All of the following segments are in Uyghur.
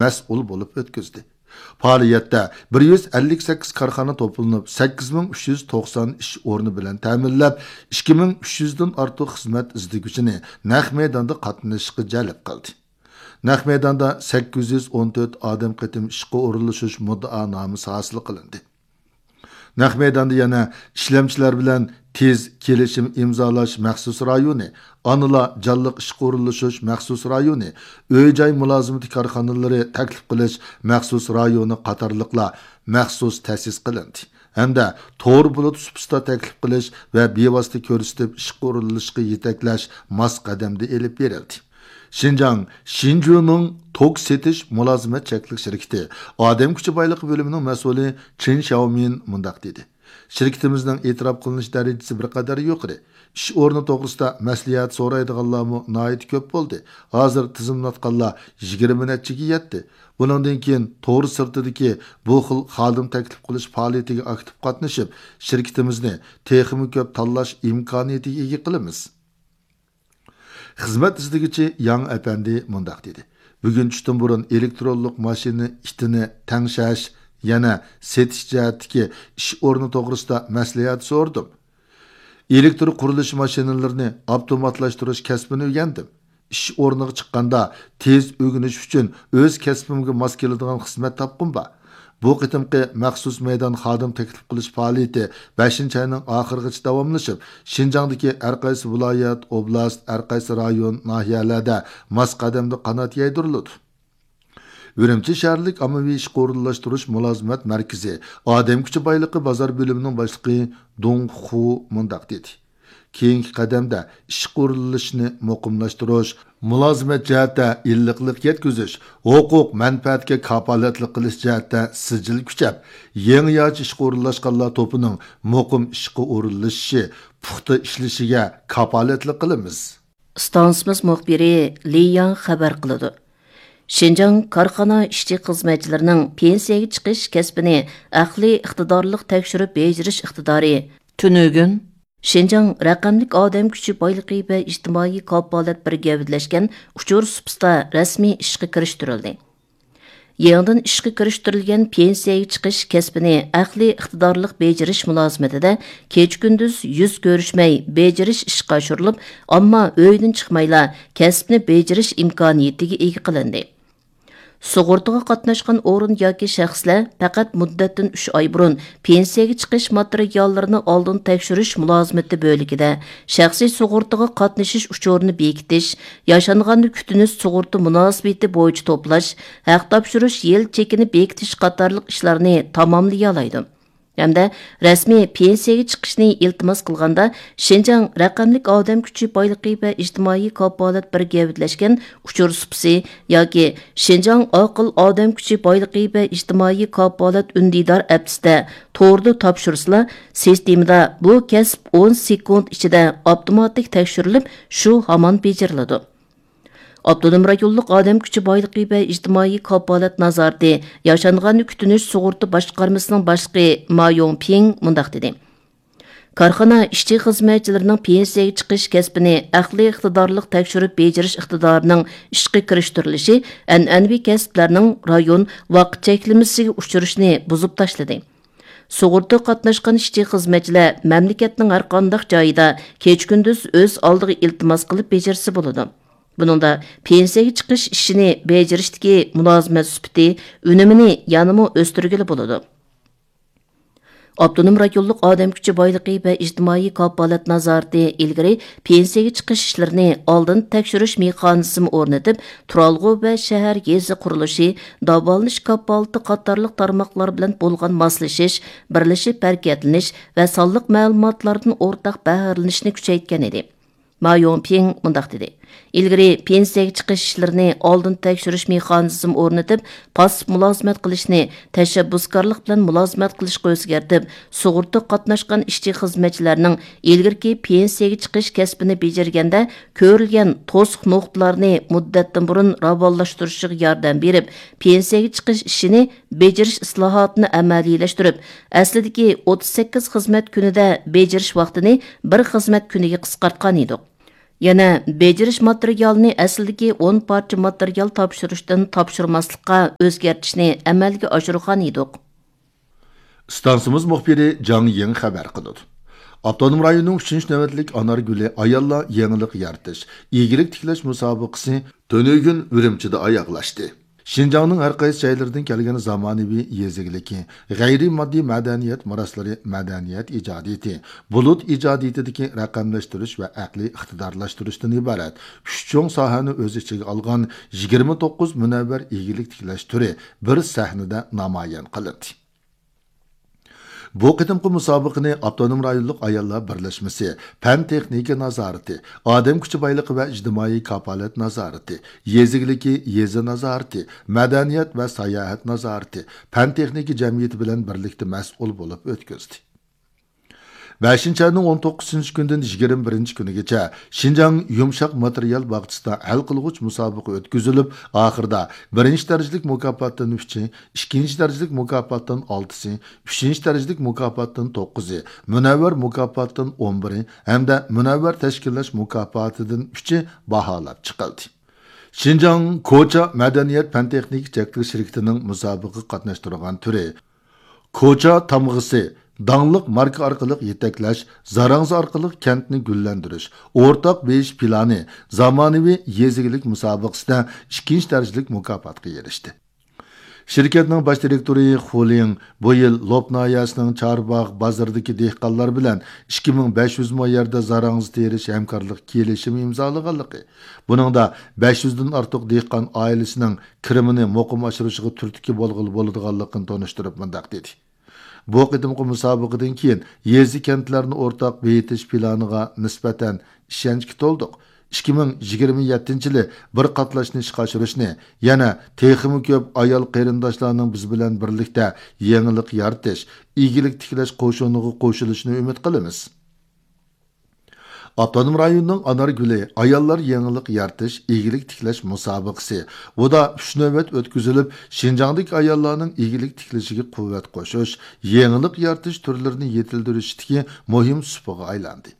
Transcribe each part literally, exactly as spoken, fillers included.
مەسئۇل بولۇپ ئۆتكۈزدى. پائالىيەتتە بىر يۈز ئەللىك سەككىز كارخانا توپلىنىپ، سەككىز مىڭ ئۈچ يۈز توقسان ئىش ئورنى بىلەن تەمىنلەپ، ئىككى مىڭ ئۈچ يۈزدىن ئارتۇق خىزمەت ئىزدىگۈچىنى نەق مەيداندا قاتنىشىشقا جەلپ قىلدى. نەق مەيداندا سەككىز يۈز ئون تۆت ئادەم قېتىم ئىشقا ئورۇنلىشىش مۇددىئانامىسى ھاسىل قىلىندى. نەق مەيداندا يەنە ئىشلەمچىلەر بىلەن تېز كېلىشىم ئىمزالاش مەخسۇس رايونى، ئانىلار جانلىق ئىشقا ئورۇنلىشىش مەخسۇس رايونى، ئۆي-جاي مۇلازىمىتى كارخانىلىرى تەكلىپ قىلىش مەخسۇس رايونى قاتارلىقلار مەخسۇس تەسىس قىلىندى ھەمدە تور بۇلۇت سۇپىسىدا تەكلىپ قىلىش ۋە بىۋاسىتە كۆرسىتىپ ئىشقا ئورۇنلىشىشقا يېتەكلەش ماس قەدەمدە ئېلىپ بېرىلدى. شىنجاڭ شىنجۇنىڭ توك سېتىش مۇلازىمەت چەكلىك شىركىتى ئادەم كۈچى بايلىقى بۆلۈمىنىڭ مەسئۇلى چېن شياۋمىن مۇنداق دېدى: شىركىتىمىزنىڭ ئېتىراپ قىلىنىش دەرىجىسى بىر قەدەر يۇقىرى. ئىش ئورنى توغرىسىدا مەسلىھەت سورايدىغانلارمۇ ناھايىتى كۆپ بولدى. ھازىر تىزىملاتقانلار يىگىرمە نەچچىگە يەتتى. بۇنىڭدىن كېيىن تور سىرتىدىكى بۇ خىل خادىم تەكلىپ قىلىش پائالىيىتىگە ئاكتىپ قاتنىشىپ، شىركىتىمىزنى تېخىمۇ كۆپ تاللاش ئىمكانىيىتىگە ئىگە قىلىمىز. خىزمەت ئىزدىگۈچى ياڭ ئەپەندى مۇنداق دېدى: بۈگۈن چۈشتىن بۇرۇن ئېلېكترونلۇق ماشىنا ئىتىنى تەڭشەش، يەنە سېتىش جەھەتتىكى ئىش ئورنى توغرىسىدا مەسلىھەت سورىدىم. ئېلېكتر قۇرۇلۇش ماشىنىلىرىنى ئاپتوماتلاشتۇرۇش كەسپىنى ئۆگەندىم. ئىش ئورنىغا چىققاندا تېز ئۆگىنىش ئۈچۈن ئۆز كەسپىمگە ماس كېلىدىغان خىزمەت تاپقۇم بار. بۇ قېتىمقى مەخسۇس مەيدان خادىم تەكلىپ قىلىش پائالىيىتى بەشىنچى ئاينىڭ ئاخىرىغىچە داۋاملىشىپ، شىنجاڭدىكى ھەر قايسى ۋىلايەت، ئوبلاست، ھەر قايسى رايون، ناھىيەلەردە ماس قەدەمدە قانات يايدۇرۇلىدۇ. ئۈرۈمچى شەھەرلىك ئاممىۋى ئىشقا ئورۇنلاشتۇرۇش مۇلازىمەت مەركىزى ئادەم كۈچى بايلىقى بازار بۆلۈمىنىڭ باشلىقى دۇڭ خۇ مۇنداق دېدى: كېيىنكى قەدەمدە ئىشقا ئورۇنلىشىشنى مۇقىملاشتۇرۇش، مۇلازىمەت جەھەتتە ئىللىقلىق يەتكۈزۈش، ھوقۇق مەنپەئەتكە كاپالەتلىك قىلىش جەھەتتە سىجىل كۈچەپ، يېڭىچە ئىشقا ئورۇنلاشقانلار توپىنىڭ مۇقىم ئىشقا ئورۇنلىشىشى، پۇختا ئىشلىشىگە كاپالەتلىك قىلىمىز. ئىستانسىمىز مۇخبىرى لى ياڭ خەۋەر قىلىدۇ. شىنجاڭ كارخانا ئىشچى-خىزمەتچىلىرىنىڭ پېنسىيەگە چىقىش كەسپىنى ئەقلىي ئىقتىدارلىق تەكشۈرۈپ بېجىرىش ئىقتىدارى تۈنۈگۈن شىنجاڭ رەقەملىك ئادەم كۈچى بايلىقى ۋە ئىجتىمائىي كاپالەت بىر گەۋدىلەشكەن ئۇچۇر سۇپىسىدا رەسمىي ئىشقا كىرىشتۈرۈلدى. يېڭىدىن ئىشقا كىرىشتۈرۈلگەن پېنسىيەگە چىقىش كەسپىنى ئەقلىي ئىقتىدارلىق بېجىرىش مۇلازىمىتىدە كېچە-كۈندۈز يۈز كۆرۈشمەي بېجىرىش ئىشقا ئاشۇرۇلۇپ، ئامما ئۆيىدىن چىقمايلا كەسىپنى بېجىرىش ئىمكانىيىتىگە ئىگە قىلىندى. سۇغۇرتىغا قاتناشقان ئورۇن ياكى شەخسلەر پەقەت مۇددەتتىن ئۈچ ئاي بۇرۇن پېنسىيەگە چىقىش ماتېرىياللىرىنى ئالدىن تەكشۈرۈش مۇلازىمىتى بۆلىكىدە شەخسىي سۇغۇرتىغا قاتنىشىش ئۇچۇرىنى بېكىتىش، ياشانغاننى كۈتۈنۈش سۇغۇرتا مۇناسىۋىتى بويىچە توپلاش، ھەق تاپشۇرۇش يىل چېكىنى بېكىتىش قاتارلىق ئىشلارنى تاماملىيالايدۇ. ھەمدە رەسمىي پېنسىيەگە چىقىشنى ئىلتىماس قىلغاندا، شىنجاڭ رەقەملىك ئادەم كۈچى بايلىقى ۋە ئىجتىمائىي كاپالەت بىر گەۋدىلەشكەن ئۇچۇر سۇپىسى ياكى شىنجاڭ ئاقىل ئادەم كۈچى بايلىقى ۋە ئىجتىمائىي كاپالەت ئۈندىدار ئەپسىدە توردا تاپشۇرسىلا، سىستېمىدا بۇ كەسىپ ئون سېكۇنت ئىچىدە ئاپتوماتىك تەكشۈرۈلۈپ، شۇ ھامان بېجىرىلىدۇ. ئاپتونوم رايونلۇق ئادەم كۈچى بايلىقى ۋە ئىجتىمائىي كاپالەت نازارىتى ياشانغاننى كۈتۈنۈش سۇغۇرتا باشقارمىسىنىڭ باشلىقى ما يوڭپىڭ مۇنداق دېدى: كارخانا ئىشچى-خىزمەتچىلىرىنىڭ پېنسىيەگە چىقىش كەسپىنى ئەقلىي ئىقتىدارلىق تەكشۈرۈپ بېجىرىش ئىقتىدارىنىڭ ئىشقا كىرىشتۈرۈلۈشى ئەنئەنىۋى كەسىپلەرنىڭ رايون ۋاقىت چەكلىمىسىگە ئۇچرىشىنى بۇزۇپ تاشلىدى. سۇغۇرتا قاتناشقان ئىشچى-خىزمەتچىلەر مەملىكەتنىڭ ھەرقانداق جايىدا كېچە-كۈندۈز ئۆز ئالدىغا ئىلتىماس قىلىپ بېجىرسە بولىدۇ. بۇنىڭدا پېنسىيەگە چىقىش ئىشىنى بېجىرىشتىكى مۇلازىمەت سۈپىتى، ئۈنۈمىنى يەنىمۇ ئۆستۈرگىلى بولىدۇ. ئاپتونوم رايونلۇق ئادەم كۈچى بايلىقى ۋە ئىجتىمائىي كاپالەت نازارىتى ئىلگىرى پېنسىيەگە چىقىش ئىشلىرىنى ئالدىن تەكشۈرۈش مېخانىزمى ئورنىتىپ، تۇرالغۇ ۋە شەھەر، يېزا قۇرۇلۇشى، داۋالىنىش كاپالىتى قاتارلىق تارماقلار بىلەن بولغان ماسلىشىش، بىرلىشىپ ھەرىكەتلىنىش ۋە سانلىق مەلۇماتلاردىن ئورتاق بەھرىلىنىشنى كۈچەيتكەن ئىدى. ما يوڭپىڭ مۇنداق دېدى: ئىلگىرى پېنسىيەگە چىقىش ئىشلىرىنى ئالدىن تەكشۈرۈش مېخانىزمى ئورنىتىپ، پاسسىپ مۇلازىمەت قىلىشنى تەشەببۇسكارلىق بىلەن مۇلازىمەت قىلىشقا ئۆزگەرتىپ، سۇغۇرتا قاتناشقان ئىشچى-خىزمەتچىلەرنىڭ ئىلگىرىكى پېنسىيەگە چىقىش كەسپىنى بېجىرگەندە كۆرۈلگەن توسۇق نۇقتىلارنى مۇددەتتىن بۇرۇن راۋانلاشتۇرۇشىغا ياردەم بېرىپ، پېنسىيەگە چىقىش ئىشىنى بېجىرىش ئىسلاھاتىنى ئەمەلىيلەشتۈرۈپ، ئەسلىدىكى ئوتتۇز سەككىز خىزمەت كۈنىدە بېجىرىش ۋاقتىنى بىر خىزمەت كۈنىگە قىسقارتقان ئىدۇق. يەنە بېجىرىش ماتېرىيالىنى ئەسلىدىكى ئون پارچە ماتېرىيال تاپشۇرۇشتىن تاپشۇرماسلىققا ئۆزگەرتىشنى ئەمەلگە ئاشۇرغان ئىدۇق. ئىستانسىمىز مۇخبىرى جاڭ يىڭ خەۋەر قىلىدۇ. ئاپتونوم رايوننىڭ ئۈچىنچى نۆۋەتلىك ئانار گۈلى ئاياللار يېڭىلىق يارىتىش، ئىگىلىك تىكلەش مۇسابىقىسى تۈنۈگۈن ئۈرۈمچىدە ئاياغلاشتى. شىنجاڭنىڭ ھەر قايسى جايلىرىدىن كەلگەن زامانىۋى يېزا ئىگىلىكى، غەيرىي ماددىي مەدەنىيەت مىراسلىرى، مەدەنىيەت ئىجادىيىتى، بۇلۇت ئىجادىيىتىدىكى رەقەملەشتۈرۈش ۋە ئەقلىي ئىقتىدارلاشتۇرۇشتىن ئىبارەت ئۈچ چوڭ ساھەنى ئۆز ئىچىگە ئالغان يىگىرمە توققۇز مۇنەۋۋەر ئىگىلىك تىكلەش تۈرى بىر سەھنىدە نامايان قىلىندى. بۇ قېتىمقى مۇسابىقىنى ئاپتونوم رايونلۇق ئاياللار بىرلەشمىسى، پەن تېخنىكا نازارىتى، ئادەم كۈچى بايلىقى ۋە ئىجتىمائىي كاپالەت نازارىتى، يېزا ئىگىلىكى يېزا نازارىتى، مەدەنىيەت ۋە ساياھەت نازارىتى، پەن تېخنىكا جەمئىيىتى بىلەن بىرلىكتە مەسئۇل بولۇپ ئۆتكۈزدى. بەشىنچى ئاينىڭ ئون توققۇزىنچى كۈنىدىن يىگىرمە بىرىنچى كۈنىگىچە شىنجاڭ يۇمشاق ماتېرىيال باغچىسىدا ھەل قىلغۇچ مۇسابىقە ئۆتكۈزۈلۈپ، ئاخىرىدا بىرىنچى دەرىجىلىك مۇكاپاتتىن ئۈچى، ئىككىنچى دەرىجىلىك مۇكاپاتتىن ئالتىسى، ئۈچىنچى دەرىجىلىك مۇكاپاتتىن توققۇزى، مۇنەۋۋەر مۇكاپاتتىن ئون بىرى ھەمدە مۇنەۋۋەر تەشكىللەش مۇكاپاتىدىن ئۈچى باھالاپ چىقىلدى. شىنجاڭ كوچا مەدەنىيەت پەن تېخنىكا چەكلىك شىركىتىنىڭ مۇسابىقىگە قاتناشتۇرغان تۈرى، كوچا تامغىسى، داڭلىق ماركا ئارقىلىق يېتەكلەش، زاراڭزا ئارقىلىق كەنتنى گۈللەندۈرۈش، ئورتاق بېيىش پىلانى زامانىۋى يېزا ئىگىلىك مۇسابىقىسىدە ئىككىنچى دەرىجىلىك مۇكاپاتقا ئېرىشتى. شىركەتنىڭ باش دىرېكتورى خۇ لىڭ بۇ يىل لوپ ناھىيەسىنىڭ چارباغ بازىرىدىكى دېھقانلار بىلەن ئىككى مىڭ بەش يۈز مو يەردە زاراڭزا تېرىش ھەمكارلىق كېلىشىمى ئىمزالىغانلىقى، بۇنىڭدا بەش يۈزدىن ئارتۇق دېھقان ئائىلىسىنىڭ كىرىمىنى مۇقىم ئاشۇرۇشىغا تۈرتكە بولغىلى بولىدىغانلىقىنى تونۇشتۇرۇپ مۇنداق دېدى: بۇ قېتىمقى مۇسابىقىدىن كېيىن يېزا، كەنتلەرنى ئورتاق بېيىتىش پىلانىغا نىسبەتەن ئىشەنچكە تولدۇق. ئىككى مىڭ يىگىرمە يەتتىنچى يىلى بىر قاتلاشنى ئىشقا ئاشۇرۇشنى، يەنە تېخىمۇ كۆپ ئايال قېرىنداشلارنىڭ بىز بىلەن بىرلىكتە يېڭىلىق يارىتىش، ئىگىلىك تىكلەش قوشۇنىغا قوشۇلۇشىنى ئۈمىد قىلىمىز. ئاپتونوم رايوننىڭ ئانار گۈلى ئاياللار يېڭىلىق يارىتىش، ئىگىلىك تىكلەش مۇسابىقىسى ئۇدا ئۈچ نۆۋەت ئۆتكۈزۈلۈپ، شىنجاڭدىكى ئاياللارنىڭ ئىگىلىك تىكلىشىگە قۇۋۋەت قوشۇش، يېڭىلىق يارىتىش تۈرلىرىنى يېتىلدۈرۈشتىكى مۇھىم سۇپىغا ئايلاندى.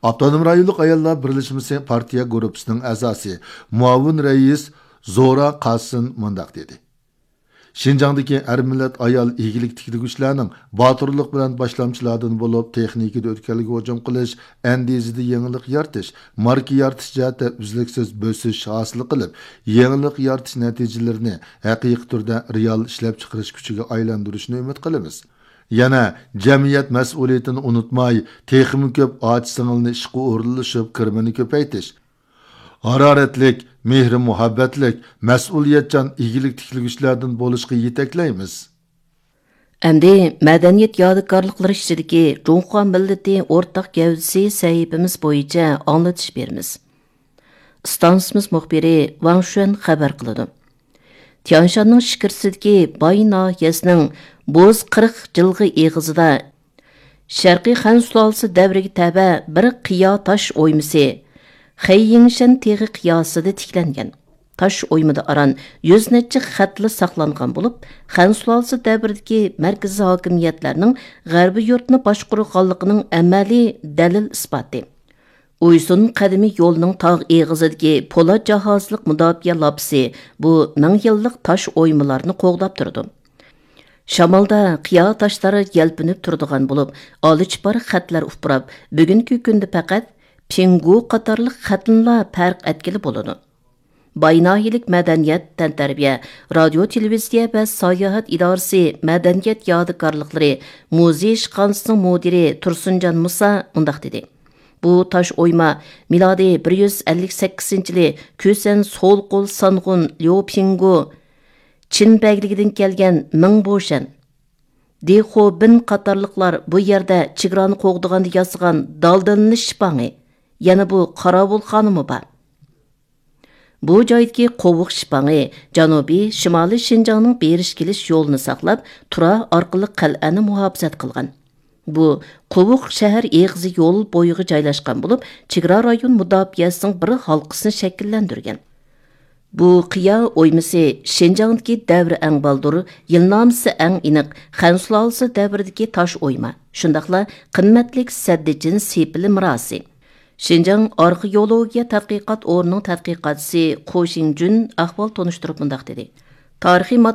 ئاپتونوم رايونلۇق ئاياللار بىرلەشمىسى پارتىيە گۇرۇپپىسىنىڭ ئەزاسى، مۇئاۋىن رەئىس زورا قاسىن مۇنداق دېدى: شىنجاڭدىكى ھەر مىللەت ئايال ئىگىلىك تىكلىگۈچىلەرنىڭ باتۇرلۇق بىلەن باشلامچىلاردىن بولۇپ، تېخنىكىدا ئۆتكەلگە ھۇجۇم قىلىش، ئەندىزىدە يېڭىلىق يارىتىش، ماركا يارىتىش جەھەتتە ئۈزلۈكسىز بۆسۈش ھاسىل قىلىپ، يېڭىلىق يارىتىش نەتىجىلىرىنى ھەقىقىي تۈردە رېئال ئىشلەپچىقىرىش كۈچىگە ئايلاندۇرۇشنى ئۈمىد قىلىمىز. يەنە جەمئىيەت مەسئۇلىيىتىنى ئۇنتۇماي، تېخىمۇ كۆپ ئاچا-سىڭىلنى ئىشقا ئورۇنلىشىپ، كىرىمىنى كۆپەيتىش، ھارارەتلىك، مېھرى-مۇھەببەتلىك، مەسئۇلىيەتچان ئىگىلىك تىكلىگۈچىلەردىن بولۇشقا يېتەكلەيمىز. ئەمدى مەدەنىيەت يادىكارلىقلىرى ئىچىدىكى جۇڭخۇا مىللىتى ئورتاق گەۋدىسى سەھىپىمىز بويىچە ئاڭلىتىش بېرىمىز. ئىستانسىمىز مۇخبىرى ۋاڭ شۈەن خەۋەر قىلىدۇ. تيانشاننىڭ ئىچكىرىسىدىكى باي ناھىيەسىنىڭ بوز قىرىق جىلغا ئېغىزىدا شەرقىي خەن سۇلالىسى دەۋرىگە تەۋە بىر قىيا تاش ئويمىسى، خېييىڭشەن تېغى قىياسىدا تىكلەنگەن. تاش ئويمىدا ئاران يۈز نەچچە خەتلا ساقلانغان بولۇپ، خەن سۇلالىسى دەۋرىدىكى مەركىزىي ھاكىمىيەتلەرنىڭ غەربىي يۇرتنى باشقۇرغانلىقىنىڭ ئەمەلىي دەلىل-ئىسپاتى. ئۇيسۇن قەدىمىي يولىنىڭ تاغ ئېغىزىدىكى پولات جاھازلىق مۇداپىئە لاپىسى بۇ مىڭ يىللىق تاش ئويمىلارنى قوغداپ تۇرىدۇ. شامالدا قىيا تاشلار يەلپۈنۈپ تۇرىدىغان بولۇپ، ئالىچىپار خەتلەر ئۇپراپ، بۈگۈنكى كۈندە پەقەت پىڭگۇ قاتارلىق خەتنىلا پەرق ئەتكىلى بولىدۇ. باي ناھىيەلىك مەدەنىيەت، تەنتەربىيە، رادىيو، تېلېۋىزىيە ۋە ساياھەت ئىدارىسى مەدەنىيەت يادىكارلىقلىرى مۇزېي ئىشخانىسىنىڭ مۇدىرى تۇرسۇنجان مۇسا مۇنداق دېدى: بۇ تاش ئويما مىلادىي بىر يۈز ئەللىك سەككىزىنچى يىلى كۈسەن سول قول سانغۇن ليۇ پىڭگۇ، چىن بەگلىكىدىن كەلگەن مىڭ بوشەن، دى خو بىن قاتارلىقلار بۇ يەردە چېگرانى قوغدىغاندا ياسىغان دالدىلىنىش شىپاڭى، يەنە بۇ قاراۋۇلخانىمۇ بار. بۇ جايدىكى قوۋۇق شىپاڭى جەنۇبىي، شىمالىي شىنجاڭنىڭ بېرىش-كېلىش يولىنى ساقلاپ، تۇرا ئارقىلىق قەلئەنى مۇھاپىزەت قىلغان. بۇ قوۋۇق شەھەر ئېغىزى يول بويىغا جايلاشقان بولۇپ، چېگرا رايون مۇداپىئەسىنىڭ بىر ھالقىسىنى شەكىللەندۈرگەن. بۇ قىيا ئويمىسى شىنجاڭدىكى دەۋر ئەڭ بالدۇر، يىلنامىسى ئەڭ ئېنىق خەن سۇلالىسى دەۋرىدىكى تاش ئويما، شۇنداقلا قىممەتلىك سەددىچىن سېپىلى مىراسى. شىنجاڭ ئارخېئولوگىيە تەتقىقات ئورنىنىڭ تەتقىقاتچىسى قو شىڭجۈن ئەھۋال تونۇشتۇرۇپ مۇنداق دېدى: تارىخىي ماددا